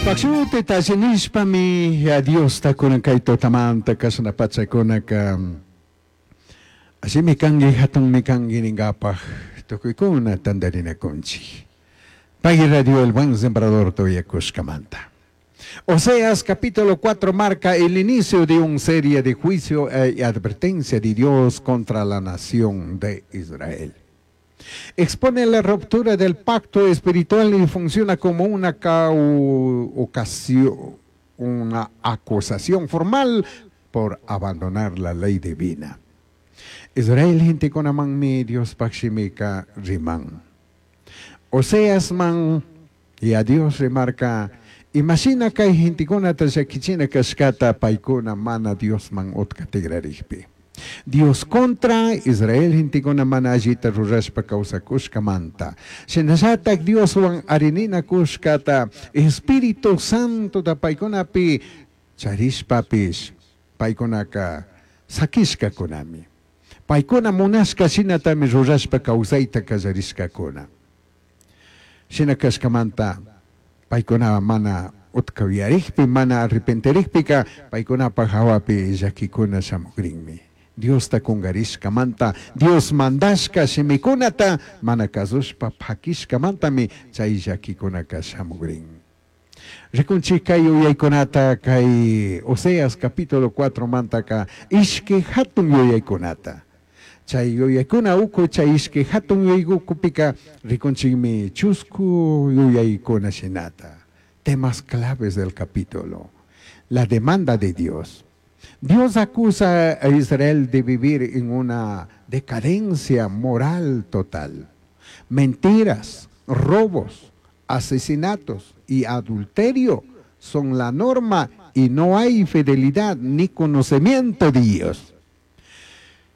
Diospaj shutita alli nishpami Diosta kunan kay tutamanta kashna pachakunaka allimi kanki hatunmi kanki ningapaj tukuykuna tantarinakunchik. Pay Radio El Buen Sembrador tuyakushkamanta. Oseas capítulo 4 marca el inicio de una serie de juicio y advertencia de Dios contra la nación de Israel. Expone la ruptura del pacto espiritual y funciona como una ocasión, una acusación formal por abandonar la ley divina. Israel gentekunamanmi Diospaj shimika riman. Oseasman y a Dios rimarca imashina kay gentekunata llakichina kashkata paykuna mana Diosman utka tigrarikpi. Dios contra Israel gentekuna mana allita rurashpa kawsakushkamanta. Shinallatak Dioswan arininakushkata Espíritu Santota paykunapi charishpapish paykunaka sakishkakunami. Paykuna munashka shinatami rurashpa kawsayta kallarishkakuna. Shina kashkamanta paykuna mana utka uyarikpi, mana arrepentirikpika paykunapaj hawapi llakikuna shamukrinmi. Diosta kungarishkamanta, Dios mandashka shimikunata mana kasushpa pakishkamantami chay llakikunaka shamukrin. Rikunchik kay yuyaykunata kay Oseas capítulo 4 mantaka ishki hatun yuyaykunata. Chay yuyaykuna uku chay ishki hatun yuyaykupika rikunchikmi chusku yuyaykuna shinata. Temas claves del capítulo. La demanda de Dios. Dios acusa a Israel de vivir en una decadencia moral total. Mentiras, robos, asesinatos y adulterio son la norma y no hay fidelidad ni conocimiento de Dios.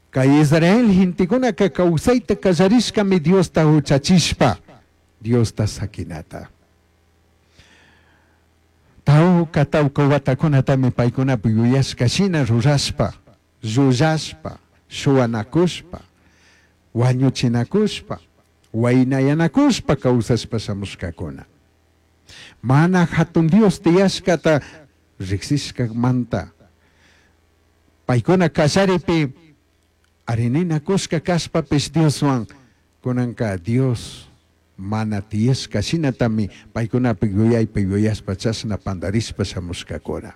Kay Israel gentekunaka kawsayta kallarishkami Diosta huchachishpa, Diosta sakinata. Tawka tawka watakunatami paykunapi yuyashka shina rurashpa, llullashpa, shuwanakushpa, wañuchinakushpa, waynayanakushpa kawsashpa shamushkakuna. Mana hatun Dios tiyashkata riksishkamanta. Paykuna kallaripi arininakushka kashpapish Dioswan kunanka Dios mana tiyashka shinatami paykunapi yuyaypi yuyashpa chashna pandarishpa shamushkakuna.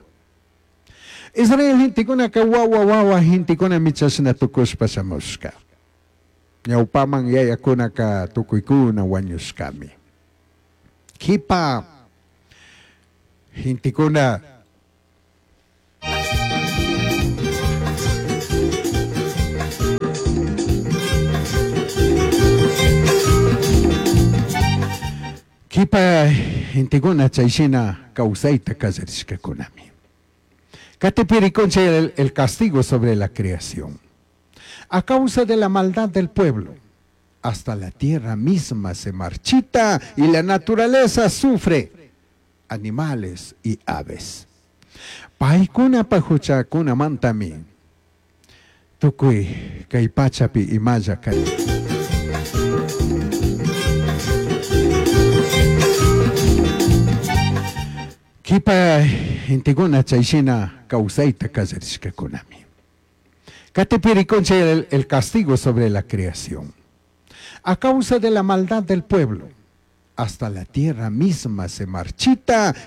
Israel gentekunaka wawa wawa gentekunami chashna tukushpa shamushka. Ñawpaman yayakunaka tukuykuna wañushkami. Kipa gentekuna Kipa gentekuna chayshina kawsayta kallarishkakunami. Katipi rikunchik el castigo sobre la creación. A causa de la maldad del pueblo, hasta la tierra misma se marchita y la naturaleza sufre, animales y aves. Paykuna huchakunamantami tukuy kay pachapi imalla kay. Kipa gentekuna chayshina kawsayta kallarishkakunami. Katipi rikunchik el castigo sobre la creación. A causa de la maldad del pueblo, hasta la tierra misma se marchita.